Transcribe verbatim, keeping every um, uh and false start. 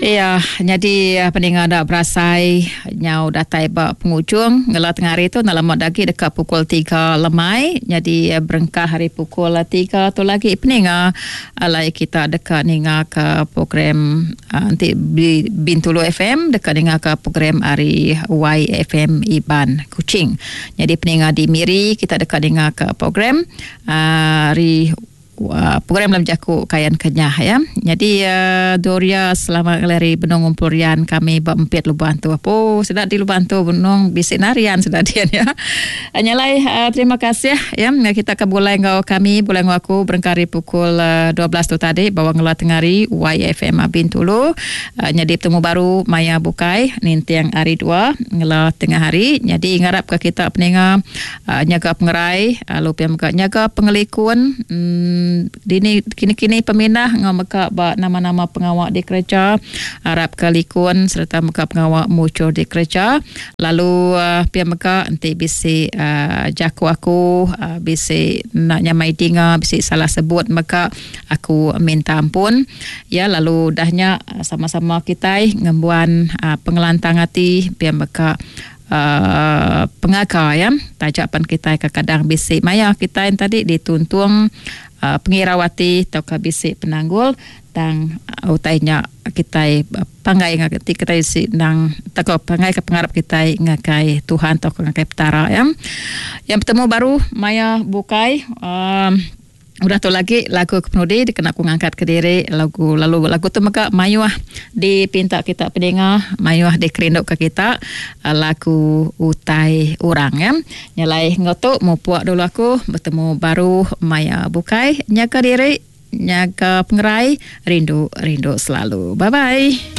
Iya, jadi peninga dak berasai nyau datai ba pengujung ngela tengah hari tu dalam dagi dekat pukul tiga lemai. Jadi berengkah hari pukul tiga tu lagi peninga alai kita dekat ninga ke program nanti Bintulu F M dekat ninga ke program hari Y F M Iban Kuching. Jadi peninga di Miri kita dekat ninga ke program hari Uh, program dalam jaku Kayan Kenyah ya. Jadi uh, Doria selamat ngelari benung ngumpul rian kami berempit luban tu. Apa sudah di luban tu benung bisik narian sudah dia ya. Nyalai uh, terima kasih ya kita ke bulai ngau kami bulai ngau aku berengkari pukul uh, dua belas tu tadi bawa ngela tengari Y F M Bintulu. Uh, jadi bertemu baru Maya Bukai nintiang hari dua ngela tengah hari. Jadi ngarap ke kita peninga uh, nyaga pengerai lalu uh, pia nyaga pengelikun hmm, dini kini-kini pemindah ngau meka ba nama-nama pengawak di kerja harap ke likun serta meka pengawak muncul di kerja lalu uh, pia meka nanti bisi uh, jaku aku uh, bisi nak nyamai dinga bisi salah sebut meka aku minta ampun ya. Lalu dahnya sama-sama kita ngembuan uh, pengelantang hati pia meka Uh, pengaka ya tajapan kita kadang bisi maya kita yang tadi dituntung uh, pengirawati atau ke bisi penanggul tang uh, utainya kita panggai ngati kita isi nang tako panggai ke pengarap kita ngakai Tuhan atau ngakai petara ya. Yang bertemu baru maya bukai um, udah tu lagi lagu kepenudi dikena aku ngangkat ke diri lagu lalu lagu tu mega mayuh dipinta kita pendengar mayuh dikerinduk ke kita lagu utai orang ya. Nyalai ngotok mupuak dulu aku bertemu baru maya bukai nyaga diri nyaga pengerai rindu rindu selalu. Bye bye.